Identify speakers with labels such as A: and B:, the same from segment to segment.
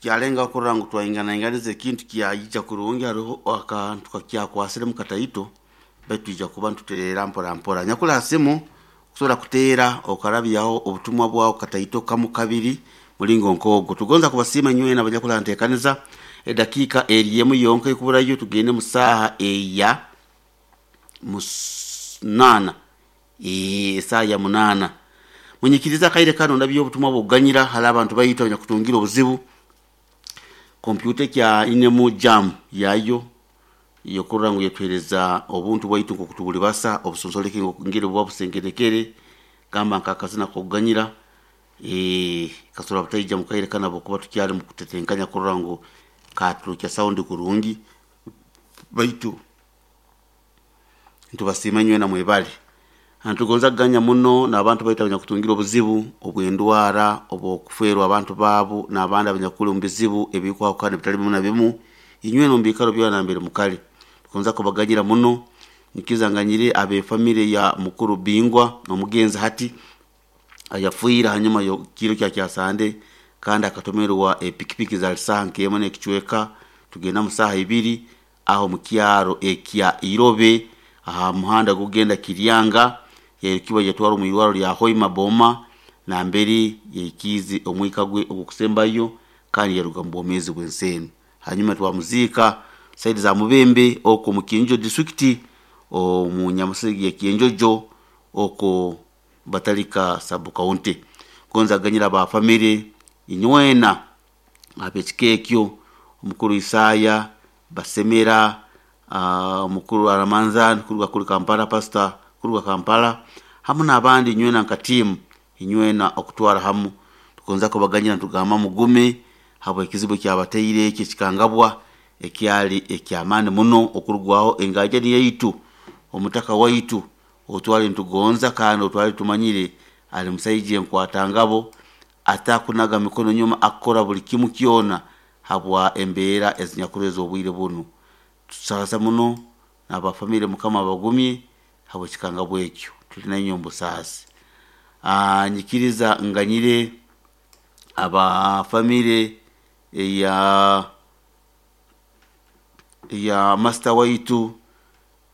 A: Tukyalengaho kurora ngu twainganainganiza ekintu kyaija kurungi. Haroho akantu kakyakwasiremu kataito, baitu twija kuba nituteera mpora mpora. Nyakuli ha simu kusobora kuteera okarabyaho obutumwa bwawe kataito kamu kabiri mulingo nk'ogwo. Tugonza kubasiima inywena abanyakuli ha nteekaniza. Edakiika eri emu yonka ekuburayo tugende mu saaha eya munaana, esaaha ya munaana. Munyikirize akaire kanu ndabye obutumwa bw'okuganyira hali abantu baitu abanyakutungire obuzibu. Kompyuta ekyainemu jam yayo yokurora ngu yetuheereza obuntu bwaitu nk'oku tubulibasa obusonsoleke ngeri buba busengerekere, gamba nk'akazina k'okuganyira, kasobora butaija mu kaire kanu habwokuba tukyali mu kutetenkanya kurora ngu katurukya sound kurungi, baitu nitubasiima inywena mwebale. Nitugonza kuganya muno n'abantu baitu abanyakutungire obuzibu obw'endwara, obw'okufeerwa abantu baabo, n'abandi abanyakuli omu bizibu ebikwahukana ebitali bimu na bimu, inywena omu biikaro byona nambere mukali. Tugonza kubaganyira muno, nyikiriza nganyire ab'efamire ya mukuru Bingwa omugenzi hati ayafiire hanyuma y'ekiro kya kyasande, kandi akatomerwa epikipiki zaali saaha nk'emu n'ekicweka tugenda mu saaha ibiri aho mu kyaro ekya Irobe aha muhanda gukugenda Kiryanga, yairukibwa yatwarwa omu irwarro lya Hoima Boma nambere yaikiize omwika gwe ogw'okusembayo kandi yaruga mu bwomeezi bw'ensi enu. Hanyuma twamuziika saidi za Mubembe okwo omu Kyenjojo disitulikiti omu Nyamusigi ya Kyenjojo okwo Batalika sub county. Gonza kuganyira aba famire inywena ab'ekika ekyo, omukuru Isaya Basemera, omukuru Aramanzan kuruga kuli Kampala, pastor kuruga Kampala, hamu n'abandi inywena nka tiimu inywena okutwara hamu. Tugonza kubaganyira nitugamba mugume habw'ekizibu ekyabataire eki ekikangabwa ekyali eky'amaani muno okurugwaho engaajani yaitu, omutaka waitu ou twali nitugonza kandi ou twali tumanyire ali musaija enkwatangabo, atakunaga mikono nyuma, akukora buli kimu kyona habwa embeera ezinyakuli ez'obwire bunu. Tusaasa muno n'aba famire, Mukama abagumye habw'ekikangabwa ekyo. Tuli nainywe omu busaasi. Nyikiriza nganyire aba famire eya master waitu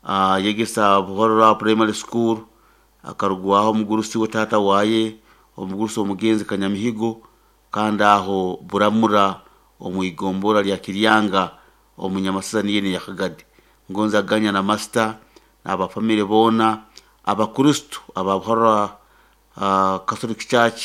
A: ayegesa Buhorora Primary School, akarugwaho omugurusi we taata waye, omugurusi omugenzi Kanyamihigo, kandi aho Buramura omu igombora lya Kiryanga omu Nyamasasa niyo enu eya Kagadi. Ngonza kuganya na master n'aba famire boona, Abakristo aba Buhorora Catholic Church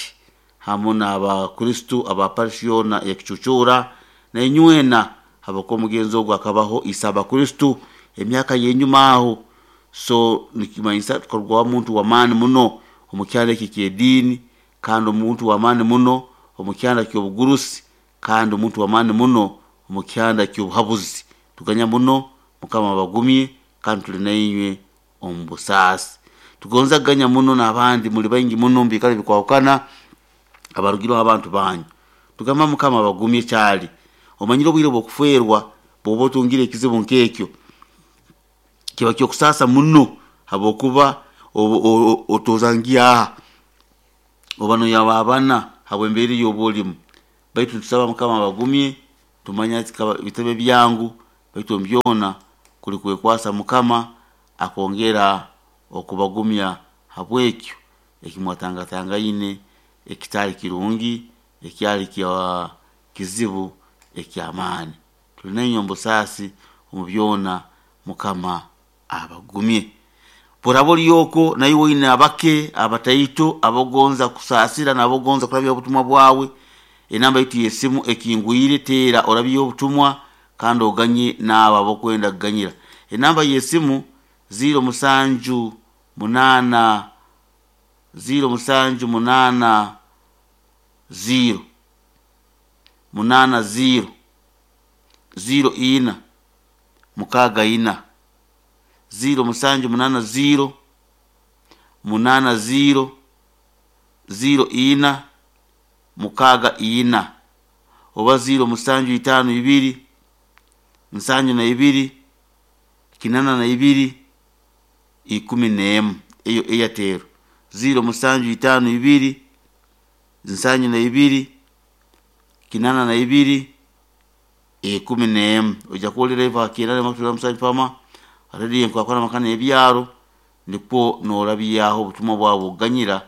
A: hamu n'Abakristo aba parish yoona eya Kicucuura, nainywena habwokuba omugenzi ogu akabaho ise Abakristo emyaka y'enyuma aho. So nikimanyisa tukarugwaho omuntu w'amaani muno omu kyanda eki eky'ediini, kandi omuntu w'amaani muno omu kyanda ky'obugurusi, kandi omuntu w'amaani muno omu kyanda ky'obuhabuzi. Tuganya muno, Mukama abagumye kandi tuli nainywe omu busaasi. Tugonza kuganya muno n'abandi muli baingi muno omu biikaro ebikwahukana abarugireho abantu banyu. Tugamba Mukama abagumye kyali. Omanyire obwire bw'okufeerwa bw'oba otungire ekizibu nk'ekyo, kiba ky'okusaasa muno habwokuba otooza ngyaha oba noyababana habw'embeera ey'oba olimu. Baitu nitusaba Mukama abagumye, tumanya bitabe byangu, baitu omu byona kuli kwekwasa Mukama akongera okubagumya habw'ekyo ekimwatangatangaine ekitali kirungi, ekyali kya kizibu eky'amaani. Tuli nainywe omu busaasi omu byona, Mukama abagumye. Bworaba oli okwo naiwe oine abake abataito abogonza kusaasira n'abogonza kurabya obutumwa bwawe, enamba yaitu y'esimu ekingwire, teera orabye obutumwa kandi oganye n'abo abokwenda kuganyira. Enamba y'esimu 0 musanju munaana 0 musanju munaana 0 munaana 0 0 ina mukaaga ina 0 musanju munaana 0 munaana 0 0 ina mukaaga ina oba 0 musanju itaano ibiri nsanju na ibiri kinana na ibiri ikumi n'emu. Eyo Airtel 0 musanju itaano ibiri nsanju na ibiri kinana na ibiri. 11. Ojja kuwulira eva 9 fama rediyo enkwakwana makana ebyaro, nikwo noorabyaho obutumwa bwawe oganyira,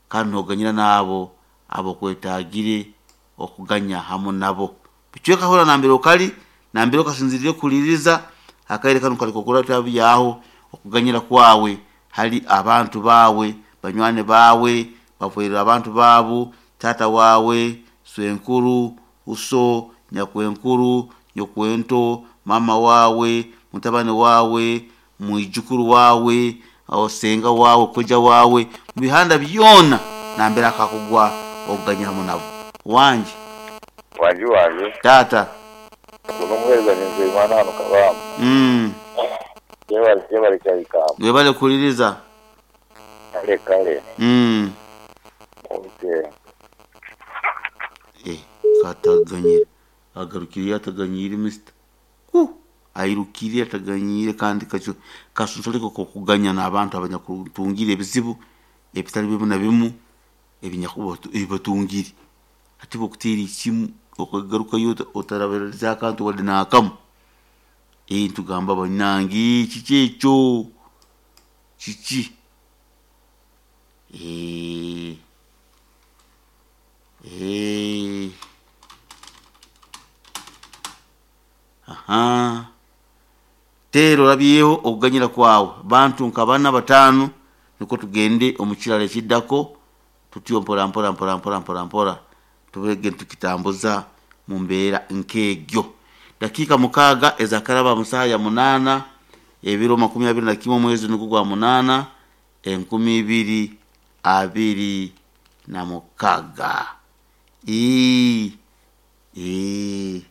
A: kandi nooganyira n'abo abokwetaagire okuganya hamu nabo. Bicweka hora nambere okali, nambere okasinzirire kuhuliriza akaire kanu kali kokurabyaho okuganyira kwawe hali abantu bawe, banywani bawe, bafoire abantu baabo, taata wawe, swenkuru, uso, nyakwenkuru, nyokwento, mama wawe, mutabani wawe, mwijukuru wawe, osenga wawe, koja wawe, mu bihanda byona nambere akakugwa okuganya hamu nabo. Wangi.
B: Wangi wange.
A: Taata.
B: Guno omuheereza ni Nzeyimana hano Kabamba. Yebale yebale Kyaikamba.
A: Webale kuhuliriza.
B: Kale kale. Okay.
A: Eh, kataganyira. Agarukire ataganyiire mister. Ku airukire ataganyiire, kandi kacho kasunsoleko kokuganya n'abantu abanyakutungire ebizibu ebitali bimu na bimu ebinyakuba ebibatungire. Hati bokutiira ikimu okagarukayo otarabiriza akantu wadde n'akamu. Ntugamba bannange kiki ekyo? Kiki? Aha. Teera olabyeho okuganyira kwawe bantu nka bana bataano, nikwo tugende omu kirala ekiddako tutyo mpora mpora mpora mpora mpora mpora tubege tukitambuza mu mbeera nk'egyo. Dakiika 6 ezakaraba mu saaha ya 8, ebiro 21 omwezi nugwo gwa 8 2026.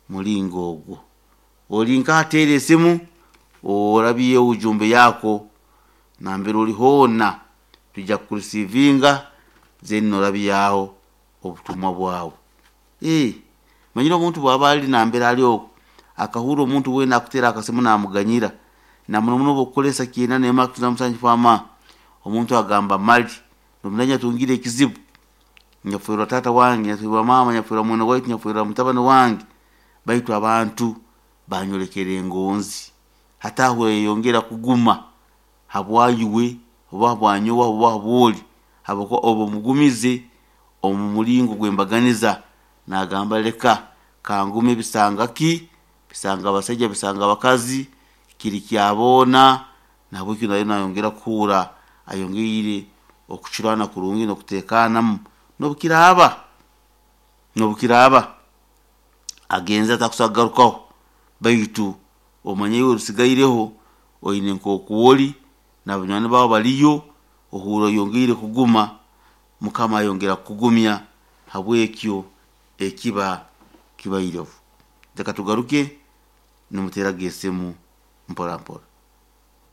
A: Mulingo ogwo oli nkateera esimu orabye ujumbe yako nambere oli hoona, tujja kukurisiivinga then norabyaho obutumwa bwawe. Manyire omuntu bwaba ali nambere ali okwo akahurra omuntu weena akuteera akasimu namuganyira, na muno muno obu okukozesa 97 fama, omuntu agamba mali nomanya atungire ekizibu, nyakuferwa taata wange, nyakuferwa maama, nyakuferwa mwene waitu, nyakuferwa mutabani wange, baitu abantu banyolekere engonzi. Hati aho eyongera kuguma habwaiwe oba habwanyowe oba habwoli, habwokuba oba omugumize omu mulingo gw'embaganiza, nagamba leka kangume bisanga ki, bisanga abasaija, bisanga abakazi, kiri kyaboona, nahabweki nayo nayongera kuhurra ayongeire okucurana kurungi n'okuteekaanamu n'obukiraaba agenze atakusobora kugarukaho, baitu omanye iwe orusigaireho oine nk'oku ori na banywani baawe baliyo, ohurra oyongeire kuguma, Mukama ayongera kukugumya habwekyo ekiba kibaireho. Leka tugaruke nimuteeraga esimu mpora mpora.